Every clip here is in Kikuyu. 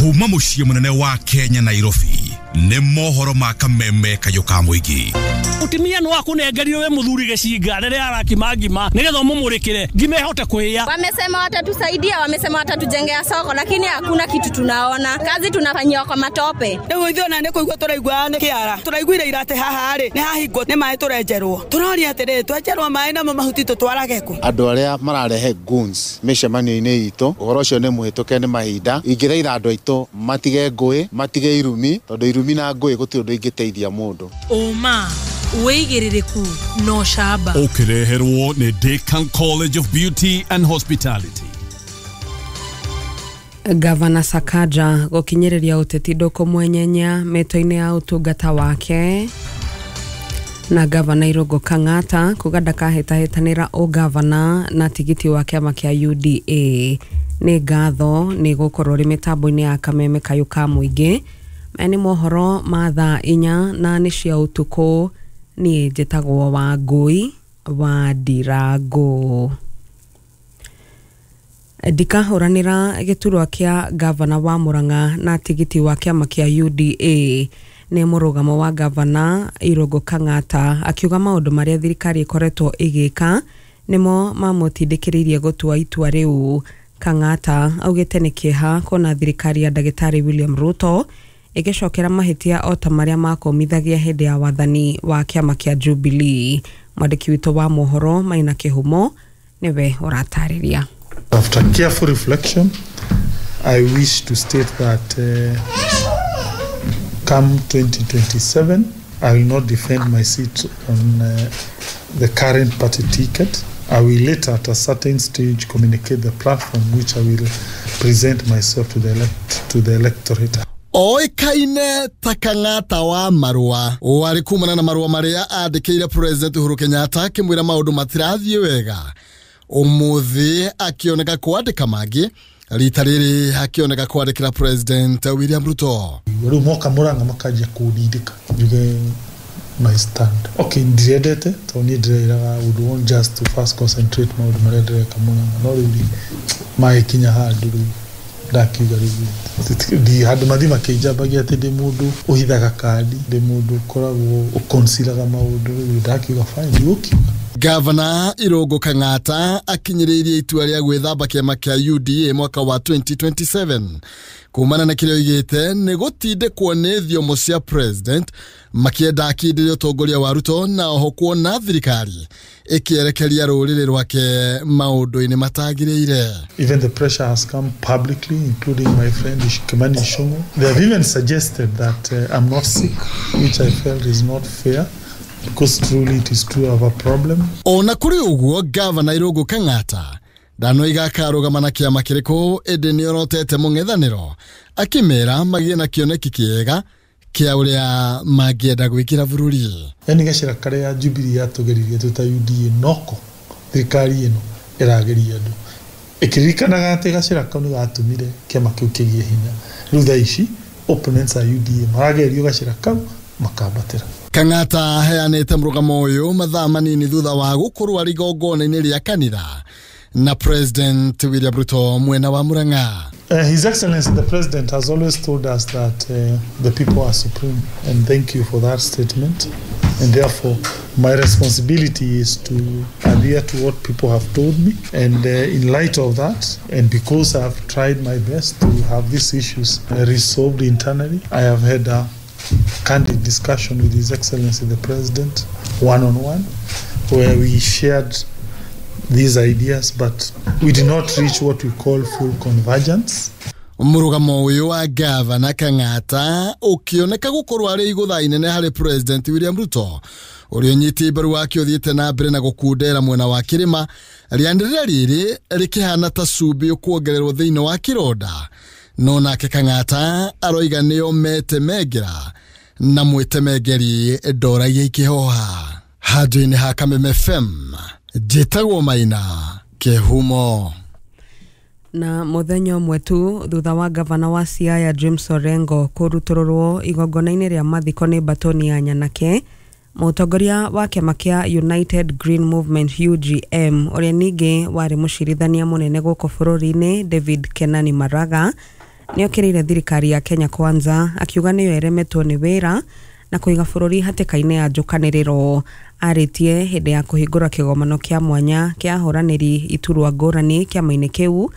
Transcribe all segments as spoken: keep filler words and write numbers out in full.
Kuma muciĩ mũnene wa Kenya Nairobi nĩ mohoro ma kameme kayũ ka mũingĩ. Mutumia no akunengerire we muthuri gicinga riria arakima ngima nigetha umumurikire ngima ihote kuhia. Wamesema watatusaidia, wamesema watatujengea soko, lakini hakuna kitu tunaona. Kazi tunafanyiwa kwa matope. Riu ithuĩ ona nĩ kũigua tũraigua nĩ kĩara. Tũraiguire ira atĩ haha rĩ nĩ hahingwo nĩ maĩ tũrenjerwo. Tũroria atĩrĩrĩ, twenjerwo maĩ namo mahuti tũtwarage kũ? Andũ arĩa mararehe goons mĩcemanio-inĩ itũ, ũhoro ũcio nĩ mũhĩtũke nĩ mahinda. Ingĩthaitha andũ aitũ matige ngũĩ, matige irumi, tondũ irumi na ngũĩ gũtirĩ ũndũ ingĩteithia mũndũ. Ũma wĩigĩrĩrĩku no camba. Ũkĩreherwo nĩ Decan College of Beauty and Hospitality. Gavana Sakaja gũkinyĩrĩria ũteti ndũkũmwenyenya mĩto-inĩ ya ũtungata wake, na Gavana Irũngũ Kang'ata kuga ndakahĩtahĩtanĩra ũgavana na tigiti wa kĩama kĩa U D A. Nĩ ngatho nĩ gũkorwo rĩ mĩtambo-inĩ ya kameme kayũ ka mũingĩ. Maya nĩ mohoro ma thaa inya na nĩ cia ũtukũ. Niĩ njĩtagwo Wangũi wa Ndirango. Ndikahũranĩra gĩturwa kĩa gavana wa Murang'a na tigiti wa kĩama kĩa U D A. Nĩ mũrũgamo wa Gavana Irũngũ Kang'ata akiuga maũndũ marĩa thirikari ĩkoretwo ĩgĩka nĩmo mamũtindĩkĩrĩirie gũtua itua rĩu. Kang'ata augĩte nĩ kĩeha kuona thirikari ya ndagĩtarĩ William Ruto ĩgĩcokera mahĩtia o ta marĩa makũmithagia hĩndĩ ya wathani wa kĩama kĩa Jubilee. Mwandĩki witũ wa mohoro Maina Kĩhumo nĩwe ũratarĩria. After careful reflection, I wish to state that uh, come twenty twenty-seven, I will not defend my seat on uh, the current party ticket. I will later at a certain stage communicate the platform which I will present myself to the elect to the electorate. Oĩkaine ta Kang'ata wa marũa warĩ kumana na marũa marĩa andĩkĩire President Uhuru Kenyatta akĩmwĩra maũndũ matirathiĩ wega. Ũmũthĩ akĩoneka kwandĩka mangĩ, rita rĩrĩ akĩoneka kwandĩkĩra President William Ruto. Rĩu moka Murang'a makanjia kũndindĩka njuge my stand. Okay, ndirendete tondũ niĩ ndĩreiraga would want just to first concentrate maũndũ marĩa ndĩreka Murang'a, no rĩu magĩkinya handũ rĩu ndakiuga rĩu ndi handũ mathi makĩnjambagia atĩ ndĩ mũndũ ũhithaga kandi, ndĩ mũndũ ũkoragwo ũkonsiraga maũndũ, rĩu ndakiuga fine, ndigũkiuga. Gavana Irũngũ Kang'ata akinyĩrĩirie itua rĩa gwĩthamba kĩama kĩa U D A mwaka wa twenty twenty-seven kumana na kĩrĩa oigĩte nĩ gũtindĩkwo nĩ thiomo cia president makĩenda akindĩrie ũtongoria wa Ruto na oho kuona thirikari ĩkĩerekeria rũrĩrĩ rwake maũndũ-inĩ matagĩrĩire. Even the pressure has come publicly, including my friend Kimani Ichung'wah. They have even suggested that uh, I'm not sick, which I felt is not fair, because truly it is true of a problem. Ona kũrĩ ũguo, Gavana Irũngũ Kang'ata ndanoiga akarũgama na kĩama kĩrĩkũ, ĩndĩ nĩorotete mũng'ethanĩro akĩmera magĩe na kĩoneki kĩega kĩa ũrĩa mangĩenda gwĩkĩra bũrũri. Yani gacĩra karĩa Jubilee yatũgeririe twĩ ta U D A noko thirikari ĩno ĩrageria andũ ĩkĩririkanaga atĩ gacĩra kau nĩ gatũmire kĩama kĩu kĩgĩe hinya. Rĩu thaa ici opponents a U D A maragerio gacĩra kau makambatĩra. Kang'ata aheanĩte mũrũgamo ũyũ mathaa manini thutha wa gũkorwo arĩ igongona-inĩ rĩa kanitha na President William Ruto mwena wa Murang'a. Uh, His Excellency the President has always told us that uh, the people are supreme, and thank you for that statement. And therefore my responsibility is to adhere to what people have told me, and uh, in light of that, and because I have tried my best to have these issues uh, resolved internally, I have had a candid discussion with His Excellency the President one-on-one, where we shared these ideas, but we did not reach what we call full convergence. Mũrũgamo ũyũ wa Gavana Kang'ata ũkĩoneka gũkorwo arĩ igũtha inene harĩ President William Ruto ũrĩa ũnyiti mbaru wake ũthiĩte na mbere na gũkundera mwena wa kĩrĩma, rĩanĩrĩra rĩrĩ rĩkĩhana ta cumbĩ ũkuongererwo thĩinĩ wa kĩronda. No nake Kang'ata aroiga nĩo metemengera na mwĩtemengeri ndoragia ikĩhoha. Handũ-inĩ ha Kameme F M njĩtagwo Maina Kĩhumo. Na mũthenya ũmwe tu thutha wa gavana wa Siaya James Orengo kũrutũrũrwo igongona-inĩ rĩa mathiko nĩ batoni ya nyanake, mũtongoria wa kĩama kĩa United Green Movement U G M ũrĩa ningĩ warĩ mũcirithania mũnene gũkũ bũrũri-inĩ David Kenani Maraga Nĩ okĩrĩire thirikari ya Kenya Kwanza akiuga nĩyo ĩremetwo nĩ wĩra na kũiga bũrũri hatĩka-inĩ ya njũkanĩrĩro. Arĩtie hĩndĩ ya kũhingũra kĩgomano kĩa mwanya kĩa ahũranĩri iturwa ngũrani kĩama-inĩ kĩu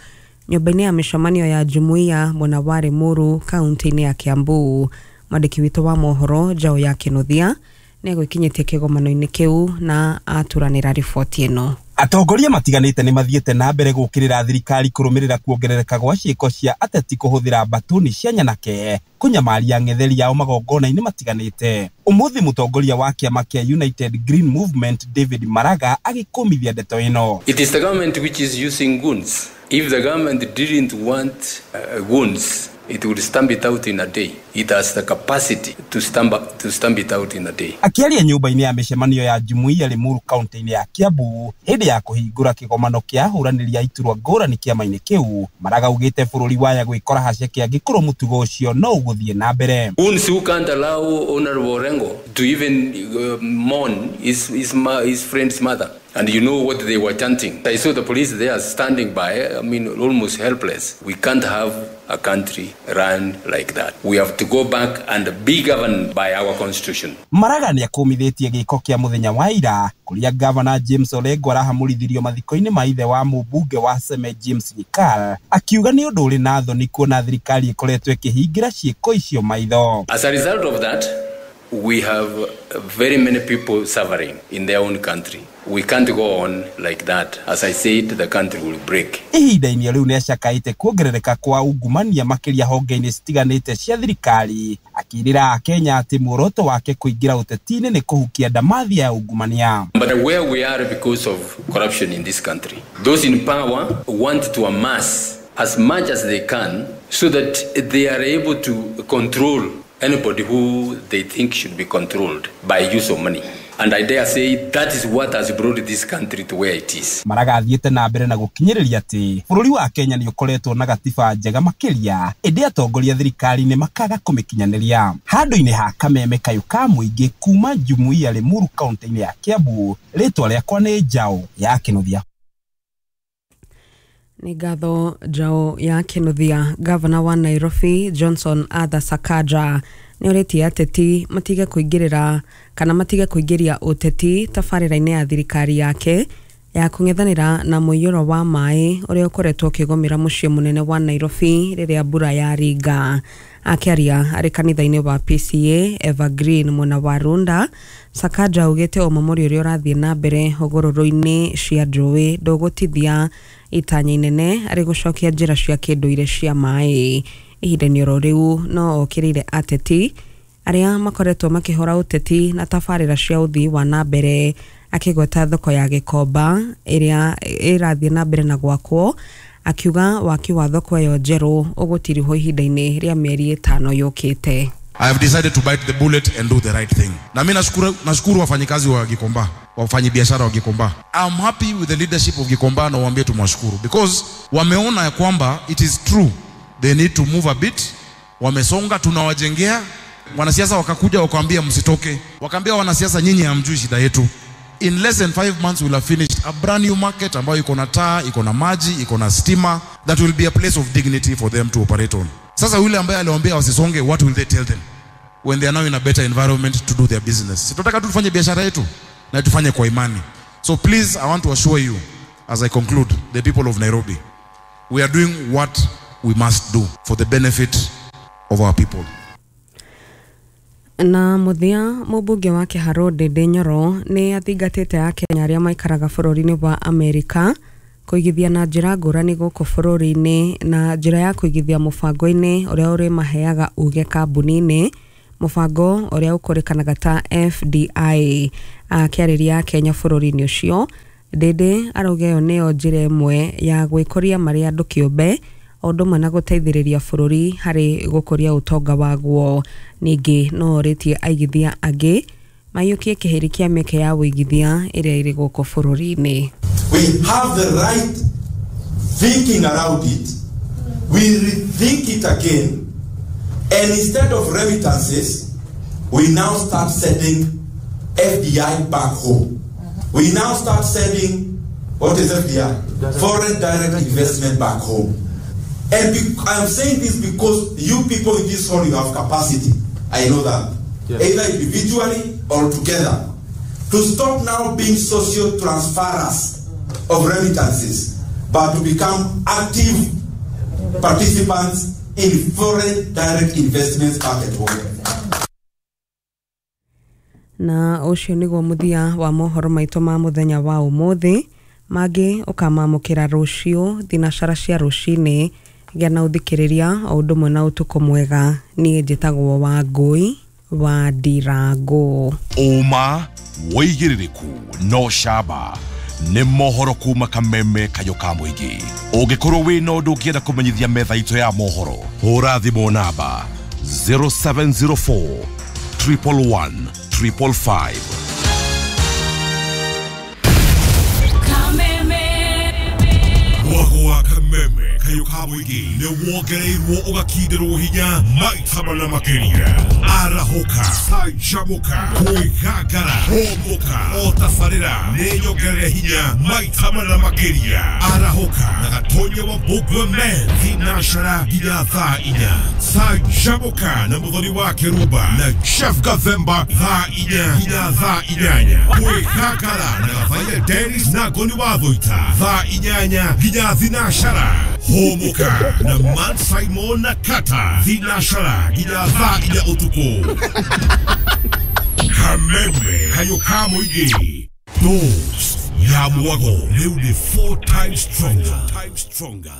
nyũmba-inĩ ya mĩcemanio ya Jumuiya mwena wa Limuru kaunti-inĩ ya Kiambu. Mwandĩki witũ wa mohoro Njaũ ya Kĩnuthia nĩ egwĩkinyĩtie kĩgomano-inĩ kĩu na aturanĩra riboti ĩno. Atongoria matiganĩte nĩ mathiĩte na mbere gũkĩrĩra thirikari kũrũmĩrĩra kuongerereka gwa ciĩko cia ateti kũhũthĩra mbatuni cia nyanake kũnyamaria ng'etheri yao magongona-inĩ matiganĩte. Ũmũthĩ mũtongoria wa kĩama kĩa United Green Movement David Maraga agĩkũmithia ndeto ĩno. It is the government which is using goons. If the government didn't want uh, goons, it would stamp it out in a day. It has the capacity to stamp, to stamp it out in a day. Akĩaria nyũmba-inĩ ya mĩcemanio ya Jumuiya Limuru kaunti-inĩ ya Kiambu hĩndĩ ya kũhingũra kĩgomano kĩa ahũranĩri a iturwa ngũrani kĩama-inĩ kĩu, Maraga augĩte bũrũri waya gwĩkora haceke angĩkorwo mũtugo ũcio no ũgũthiĩ na mbere. Goons who can't allow Honorable Orengo to even uh, mourn his, his, his friend's mother. And you know what they were chanting. I saw the police there standing by, I mean, almost helpless. We can't have a country run like that. We have to go back and be governed by our constitution. Maraga nĩ akũmithĩtie gĩko kĩa mũthenya wa ira kũrĩa Governor James Orengo arahamũrithirio mathiko-inĩ ma ithe wa mũmbunge wa Seme James Nyikal, akiuga nĩ ũndũ ũrĩ na thoni kuona thirikari ĩkoretwo ĩkĩhingĩra ciĩko icio maitho. As a result of that, we have very many people suffering in their own country. We can't go on like that. As I said, the country will break. Ihinda-inĩ rĩu nĩacakaĩte kuongerereka kwa ungumania makĩria honge-inĩ citiganĩte cia thirikari, akĩrĩra Akenya atĩ muoroto wake kũingĩra ũteti-inĩ nĩ kũhukia ndamathia ya ungumania. But where we are because of corruption in this country, those in power want to amass as much as they can so that they are able to control anybody who they think should be controlled by use of money. And I dare say that is what has brought this country to where it is. Maraga athiĩte na mbere na gũkinyĩrĩria atĩ bũrũri wa Kenya nĩ ũkoretwo na gatiba njega makĩria, ĩndĩ atongoria thirikari-inĩ makaga kũmĩkinyanĩria. Handũ-inĩ ha kameme kayũ ka mũingĩ kuma Jumuiya Limuru kaunti-inĩ ya Kiambu, rĩtwa rĩakwa nĩ Njaũ ya Kĩnuthia. Nĩ ngatho Njaũ ya Kĩnuthia. Gavana wa Nairobi Johnson Arthur Sakaja nĩ orĩtie ateti matige kũingĩrĩra kana matige kũingĩria ũteti tabarĩra-inĩ ya thirikari yake ya kũng'ethanĩra na mũiyũro wa maĩ ũrĩa ũkoretwo ũkĩgũmĩra mũciĩ mũnene wa Nairobi rĩrĩa mbura yaringa. Akĩaria arĩ kanitha-inĩ wa P C A Evergreen mwena wa Runda, Sakaja augĩte ũmomori ũrĩa ũrathiĩ na mbere hũgũrũrũ-inĩ cia njũĩ ndũgũtithia itanya inene arĩ gũcokia njĩra cia kĩndũire cia maĩ. Ihinda-inĩ oro rĩu no okĩrĩire ateti arĩa makoretwo makĩhũra ũteti na tabarĩra cia ũthii wa na mbere, akĩgweta thoko ya Gĩkomba ĩrĩa ĩrathiĩ na mbere na gwakwo, akiuga waki wa thoko ĩyo njerũ ũgũtirihwo ihinda-inĩ rĩa mĩeri ĩtano yũkĩte. I have decided to bite the bullet and do the right thing. Na mimi nashukuru nashukuru wafanyikazi wa Gikomba, wafanyibiashara wa Gikomba. I'm happy with the leadership of Gikomba na waambie tumwashukuru because wameona ya kwamba it is true they need to move a bit. Wamesonga, tunawajengea. Wanasiasa wakakuja wakaambia msitoke. Wakaambia wanasiasa nyinyi hamjui shida yetu. In less than five months we'll have finished a brand new market ambayo iko na taa, iko na maji, iko na stima. That will be a place of dignity for them to operate on. Sasa yule ambaye aliwaambia wasisonge, what will they tell them when they are now in a better environment to do their business? Tunataka tu tufanye biashara yetu na tufanye kwa imani. So please, I want to assure you as I conclude, the people of Nairobi, we are doing what we must do for the benefit of our people. Na muthia mũmbunge wa Kĩharũ Ndindi Nyoro nĩ athingatĩte Akenya arĩa maikaraga bũrũri-inĩ wa Amerika kũigithia na njĩra ngũrani gũkũ bũrũri-inĩ na njĩra ya kũigithia mũbango-inĩ ũrĩa ũrĩmaheaga uge kambuni-inĩ, mũbango ũrĩa ũkũrĩkanaga ta F D I. Akĩarĩria Akenya bũrũri-inĩ ũcio, Ndindi arauga ĩyo nĩyo njĩra ĩmwe ya gwĩkũria marĩ andũ kĩũmbe o ũndũ ũmwe na gũteithĩrĩria bũrũri harĩ gũkũria ũtonga waguo. Ningĩ no orĩtie aigithia angĩ maiyũkie kĩhĩri kĩa mĩeke ya ũigithia ĩrĩa ĩrĩ gũkũ bũrũri-inĩ. We have the right thinking around it. We rethink it again, and instead of remittances, we now start sending F D I back home. We now start sending, what is F D I? Foreign direct investment back home. And be- I am saying this because you people in this hall, you have capacity. I know that. Yes. Either individually or together. To stop now being social transferers of remittances, but to become active participants in foreign direct investments back at home. Na ũcio nĩguo mũthia wa mohoro maitũ ma mũthenya wa ũmũthĩ. Mangĩ ũkamamũkĩra rũciũ thinacara cia rũcinĩ. Gĩa na ũthikĩrĩria o ũndũ ũmwe na ũtukũ mwega. Niĩ njĩtagwo Wangũi wa Ndirango. Ũma, wĩigĩrĩrĩku no camba nĩ mohoro kuma kameme kayo ka mũingĩ. Ũngĩkorwo wĩna ũndũ ũngĩenda kũmenyithia metha itũ ya mohoro, hũra thimũ namba zero seven zero four triple one triple five. Mwago wa kameme kayo ka mũingĩ nĩ wongereirwo ũgakindĩrwo hinya maita mana makĩria. Arahũka, canjamũka, kwĩgangara, hũmũka, o tabarĩra nĩ nyongerere hinya maita mana makĩria. Arahũka na Gatonya wa Mbũgua Men thinacara nginya thaa inya. Canjamũka na Mũthoni wa Kĩrumba na Jeff Gathemba thaa inya nginya thaa inyanya. Kwĩgangara na Gathaiya Dennis na Ngoni wa Thũita thaa inyanya nginya thinacara. Hũmũka na Man Simon na Kata thinacara nginya thaa inya ũtukũ. Kameme kayo ka mũingĩ. Dose ya mwago rĩu nĩ four times stronger.